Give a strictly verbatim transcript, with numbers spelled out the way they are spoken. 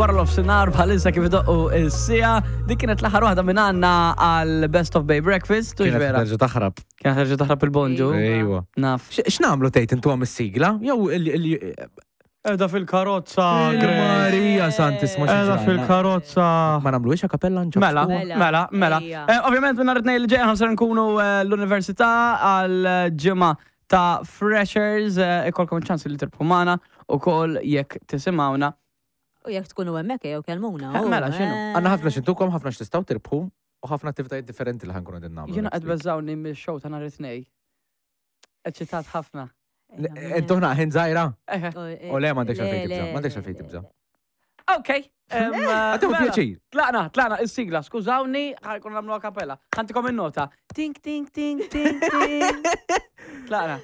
Wara nofsinhar bħalissa kif idoqqu is-siegħa. Dik kienet l-aħħar waħda minn għandna għal Best of Bay Breakfast. Tux Kienet vera. terġa' taħrab. Kienet terġa' taħrab il-bonġu. Ejwa. Naf. X'nagħmlu tgħid intu għam is-sigla? Jew il- il- Edha fil-karozza, Marija Santisma xi Edha ġrajna. fil-karozza. Ma nagħmluhiex a cappella nġobtu? Mela, Mela, mela, mela. ejja. Eh, Ovvjament, minn nhar it-Tnejn li ġej aħna ser nkunu eh, l-università għal ġimgħa ta' Freshers, eh, ikolkom ċans li tirbħu magħna u kol jekk tisimgħuna. U jekk tkunu hemmhekk jew kellmuna. Eh, mela, x'inhu? Għandna ħafna x'intukom, ħafna x'tistgħu tirbħu u ħafna attivitajiet differenti li ħa nkunu qegħdin nagħmlu. Jiena next qed week. beżawni mill-show ta' nhar it-Tnejn. Eċitat ħafna. Intu ħna ħin żgħira? Eh, U le, m'għandekx għalfejn tibża, m'għandekx għalfejn tibża. Ok. em, eh, Għatew mela, pjaċir. Tlaqna, tlaqna, il-sigla, skużawni, ħa jkun nagħmlu a cappella. Ħa ntikom il-nota. Tink, tink, tink, tink, tink. Tlaqna.